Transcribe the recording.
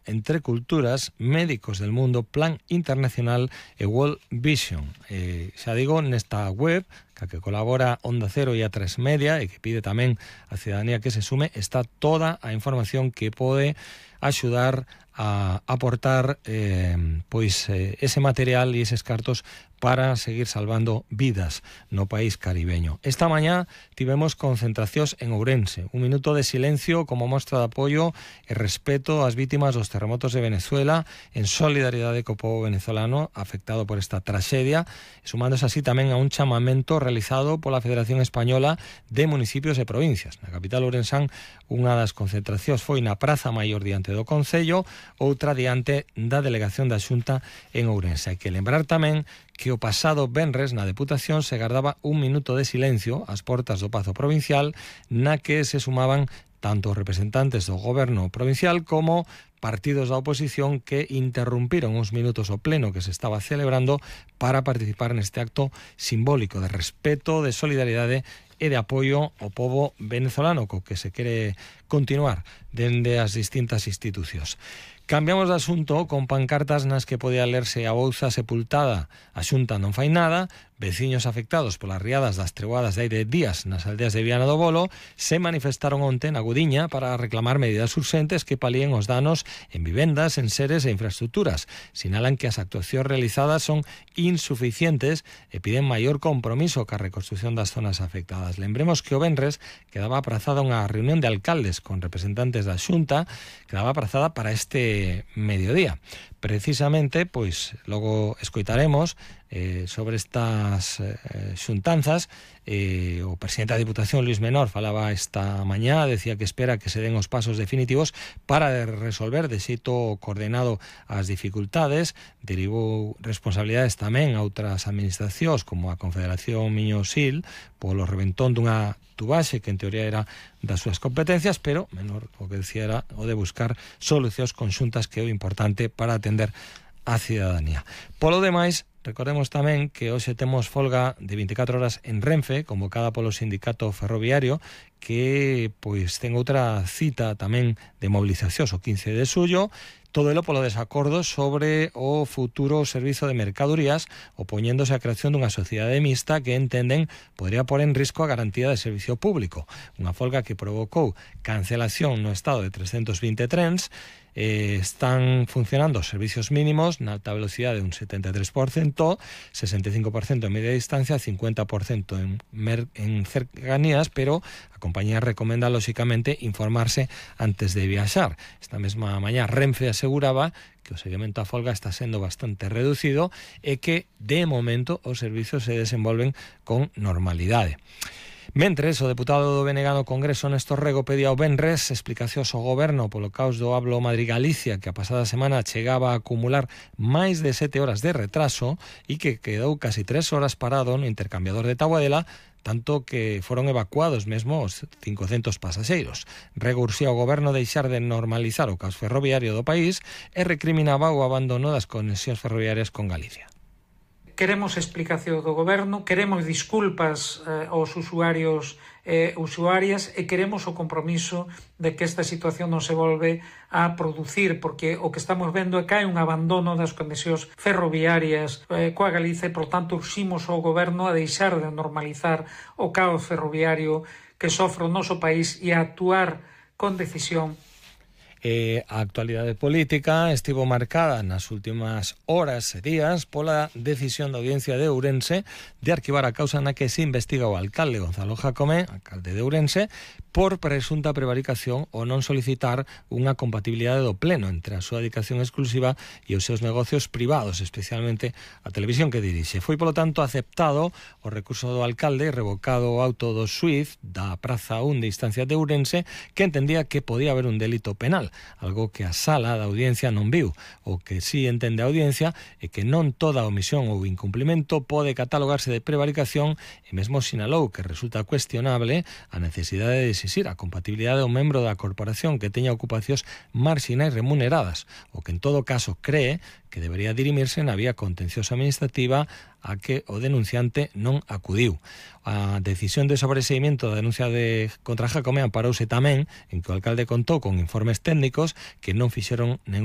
entre culturas, médicos del mundo, Plan Internacional e World Vision. Xa digo, nesta web, que colabora Onda Cero e A3 Media e que pide tamén a cidadanía que se sume, está toda a información que pode axudar a aportar ese material e eses cartos para seguir salvando vidas no país caribeño. Esta mañá tivemos concentracións en Ourense, un minuto de silencio como mostra de apoio e respeto ás vítimas dos terremotos de Venezuela, en solidaridade co povo venezolano afectado por esta traxedia, sumándose así tamén a un chamamento realizado pola Federación Española de Municipios e Provincias. Na capital ourensán, unha das concentracións foi na Praza Maior diante do Concello, outra diante da Delegación da Xunta en Ourense. Hai que lembrar tamén que o pasado venres na Deputación se gardaba un minuto de silencio ás portas do Pazo Provincial, na que se sumaban tanto representantes do goberno provincial como partidos da oposición que interrumpiron uns minutos o pleno que se estaba celebrando para participar neste acto simbólico de respeto, de solidaridade e de apoio ao povo venezolano, co que se quere continuar dende as distintas institucións. Cambiamos de asunto con pancartas nas que podía lerse a Bouza sepultada, a Xunta non fai nada, veciños afectados polas riadas das treboadas de hai 10 días nas aldeas de Viana do Bolo se manifestaron onte na Gudiña para reclamar medidas urxentes que palíen os danos en vivendas, en seres e infraestructuras. Sinalan que as actuacións realizadas son insuficientes e piden maior compromiso ca reconstrucción das zonas afectadas. Lembremos que o venres quedaba aprazada unha reunión de alcaldes con representantes da Xunta, quedaba aprazada para este mediodía. Precisamente, pois, logo escoitaremos sobre estas xuntanzas. O presidente da Diputación, Luis Menor, falaba esta mañá, decía que espera que se den os pasos definitivos para resolver de xeito coordenado as dificultades. Derivou responsabilidades tamén a outras administracións, como a Confederación Miño-Sil, polo reventón dunha tubaxe que en teoría era das súas competencias, pero Menor o que decía era o de buscar solucións conxuntas, que é o importante para atender a cidadanía. Polo demais, recordemos tamén que hoxe temos folga de 24 horas en Renfe, convocada polo sindicato ferroviario, que pois ten outra cita tamén de movilizacións o 15 de xullo, todo elo polo desacordo sobre o futuro servizo de mercadorías, opoñéndose á creación dunha sociedade mixta que entenden podría pôr en risco a garantía de servicio público. Unha folga que provocou cancelación no estado de 320 trens. Están funcionando os servicios mínimos na alta velocidade un 73%, 65% en media distancia, 50% en cercanías, pero a compañía recomenda, lóxicamente, informarse antes de viaxar. Esta mesma mañá Renfe aseguraba que o seguimento á folga está sendo bastante reducido e que, de momento, os servizos se desenvolven con normalidade. Mentres, o deputado do BNG no Congreso, Néstor Rego, pedía o venres explicacións ao goberno polo caos do Hablo Madrid-Galicia, que a pasada semana chegaba a acumular máis de 7 horas de retraso e que quedou casi 3 horas parado no intercambiador de Taboadela, tanto que foron evacuados mesmo os 500 pasaxeiros. Rego urxía ao goberno deixar de normalizar o caos ferroviario do país e recriminaba o abandono das conexións ferroviarias con Galicia. Queremos explicación do goberno, queremos disculpas aos usuarios e usuarias e queremos o compromiso de que esta situación non se volve a producir, porque o que estamos vendo é que hai un abandono das conexións ferroviarias coa Galicia e, por tanto, urximos ao goberno a deixar de normalizar o caos ferroviario que sofre o noso país e a actuar con decisión. A actualidade política estivo marcada nas últimas horas e días pola decisión da Audiencia de Ourense de arquivar a causa na que se investiga o alcalde Gonzalo Jacome, alcalde de Ourense, por presunta prevaricación ou non solicitar unha compatibilidade do pleno entre a súa dedicación exclusiva e os seus negocios privados, especialmente a televisión que dirixe. Foi, polo tanto, aceptado o recurso do alcalde e revocado o auto do xuíz da Praza 1 de Instancia de Ourense, que entendía que podía haber un delito penal, algo que a sala da audiencia non viu. O que sí entende a audiencia é que non toda omisión ou incumplimento pode catalogarse de prevaricación e mesmo sinalou que resulta cuestionable a necesidade de exixir a compatibilidade do membro da corporación que teña ocupacións marxinais remuneradas, o que en todo caso cree que debería dirimirse na vía contenciosa administrativa a que o denunciante non acudiu. A decisión de sobreseimiento da denuncia contra Jacome amparouse tamén en que o alcalde contou con informes técnicos que non fixeron